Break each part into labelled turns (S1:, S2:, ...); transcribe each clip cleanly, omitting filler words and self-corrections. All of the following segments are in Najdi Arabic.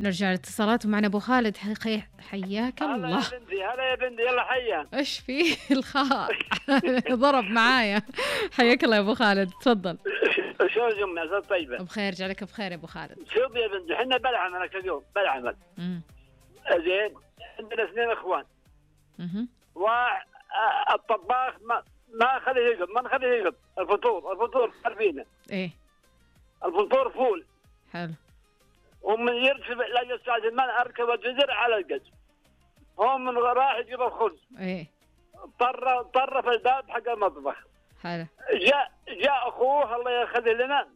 S1: نرجع الاتصالات ومعنا ابو خالد. حياك
S2: هلا
S1: الله.
S2: يا بنتي، هلا يا بنتي، يلا حيا.
S1: ايش فيه الخاء ضرب معايا. حياك الله يا ابو خالد، تفضل.
S2: شو اليوم يا زلمه؟ طيبه
S1: بخير، جعلك بخير يا ابو خالد.
S2: شوف يا بنتي، احنا بالعمل اليوم بالعمل. زين، عندنا 2 اخوان. والطباخ ما خليه يقب، ما نخليه يقب. الفطور عارفينه.
S1: ايه
S2: الفطور فول.
S1: حلو.
S2: ومن يركب لا يستعجل المال اركب الجزر على القز. هم من راح يجيب الخبز.
S1: ايه
S2: طر في الباب حق المطبخ.
S1: حلو.
S2: جاء اخوه الله يخليه لنا،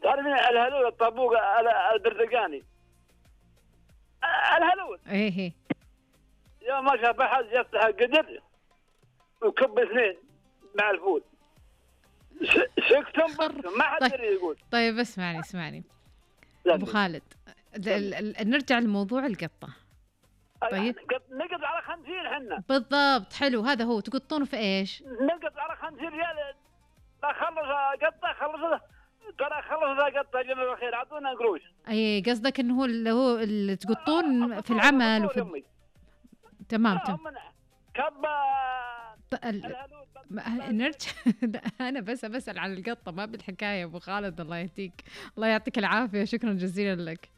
S2: تعرفين الهلول الطابوق البرتقاني، الهلول.
S1: ايه
S2: يوم ما شاف احد يفتح القدر وكب 2 مع الفول. سكتم ما حد يقول.
S1: طيب اسمعني ابو خالد، نرجع لموضوع القطه. طيب
S2: نقط على 50 حنا.
S1: بالضبط، حلو، هذا هو. تقطونه في ايش؟
S2: نقط على 50 ريال. لا خلص قطه، ترى خلص قطه جميل الخير، اعطونا قروش.
S1: اي قصدك انه هو اللي تقطون في العمل وفي تمام. نرجع. انا بس بسأل عن القطه، ما بالحكايه ابو خالد. الله يهديك، الله يعطيك العافيه، شكرا جزيلا لك.